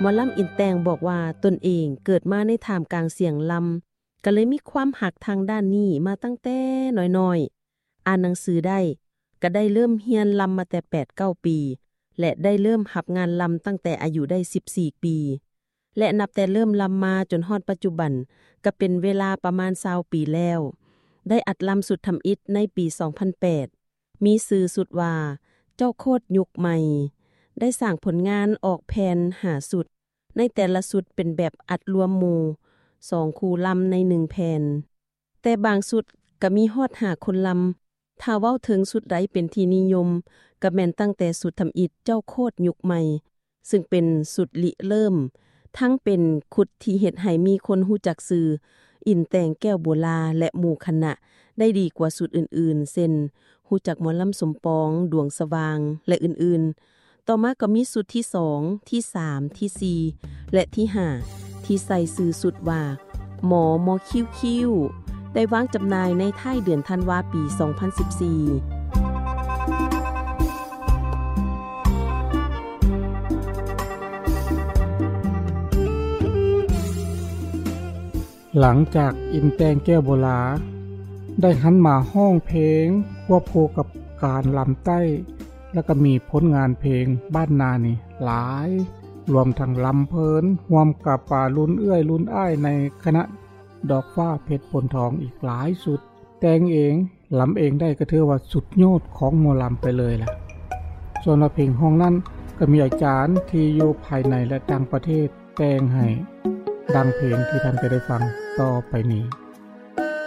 ໝໍລຳອິນແຕ່ງບອກວ່າ ຕົນເອງເກີດມາໃນທ່າມກາງສຽງລຳ ກໍເລີຍມີຄວາມຮັກທາງດ້ານນີ້ມາຕັ້ງແຕ່ນ້ອຍໆ. ອ່ານໜັງສືໄດ້ ກໍໄດ້ເລີ່ມຮຽນລຳມາແຕ່ແປດເກົ້າປີ ແລະ ໄດ້ເລີ່ມຮັບງານລຳຕັ້ງແຕ່ອາຍຸໄດ້ສິບສີ່ປີ ແລະ ນັບແຕ່ເລີ່ມລຳມາຈົນຮອດປັດຈຸບັນ ກໍເປັນເວລາປະມານຊາວປີແລ້ວ. ໄດ້ອັດລຳຊຸດທຳອິດໃນປີສອງພັນແປດ ມີຊື່ຊຸດວ່າ ເຈົ້າໂຄດຍຸກໃໝ່. ໄດ້ສ້າງຜົນງານອອກແຜ່ນຫ້າຊຸດ, ໃນແຕ່ລະຊຸດເປັນແບບອັດລວມໝູ່ສອງຄູ່ລຳໃນໜຶ່ງແຜ່ນ. ແຕ່ບາງຊຸດກໍມີຮອດຫ້າຄົນລຳ. ຖ້າເວົ້າເຖິງຊຸດໃດເປັນທີ່ນິຍົມ ກໍແມ່ນຕັ້ງແຕ່ຊຸດທຳອິດເຈົ້າໂຄດຍຸກໃໝ່ ຊຶ່ງເປັນຊຸດລິເລີ່ມ ທັງເປັນຂຸດທີ່ເຮັດໃຫ້ມີຄົນຮູ້ຈັກຊື່ ອິນແຕ່ງແກ້ວໂບລາ ແລະ ໝູ່ຄະນະ ໄດ້ດີກວ່າຊຸດອື່ນໆ ເຊັ່ນ ຮູ້ຈັກໝໍລຳສົມປອງ, ດວງສະຫວ່າງ ແລະ ອື່ນໆ. ຕໍ່ມາກໍມີຊຸດທີສອງ, ທີສາມ, ທີສີ່ ແລະ ທີຫ້າ ທີ່ໃສ່ຊື່ຊຸດວ່າ ໝໍມໍຄິ້ວຄິ້ວ ໄດ້ວາງຈຳໜ່າຍໃນທ້າຍເດືອນທັນວາປີສອງພັນສິບສີ່. ຫຼັງຈາກອິນແຕ່ງແກ້ວໂບລາ ໄດ້ຫັນມາຮ້ອງເພງຄວບຄູ່ກັບການລຳໃຕ້ ແລ້ວກໍມີຜົນງານເພງບ້ານນານີ້ຫຼາຍ, ລວມທັງລຳເພີນຮ່ວມກັບ ອ່າ ລຸ້ນເອື້ອຍລຸ້ນອ້າຍໃນຄະນະດອກຟ້າເພັດໂພນທອງອີກຫຼາຍຊຸດ. ແຕ່ງເອງ ລຳເອງໄດ້ກໍຖືວ່າສຸດຍອດຂອງໝໍລຳໄປເລີຍລະ. ສ່ວນວ່າເພງຮ້ອງນັ້ນ ກໍມີອາຈານທີ່ຢູ່ພາຍໃນ ແລະ ຕ່າງປະເທດແຕ່ງໃຫ້ ດັ່ງເພງທີ່ທ່ານຈະໄດ້ຟັງຕໍ່ໄປນີ້.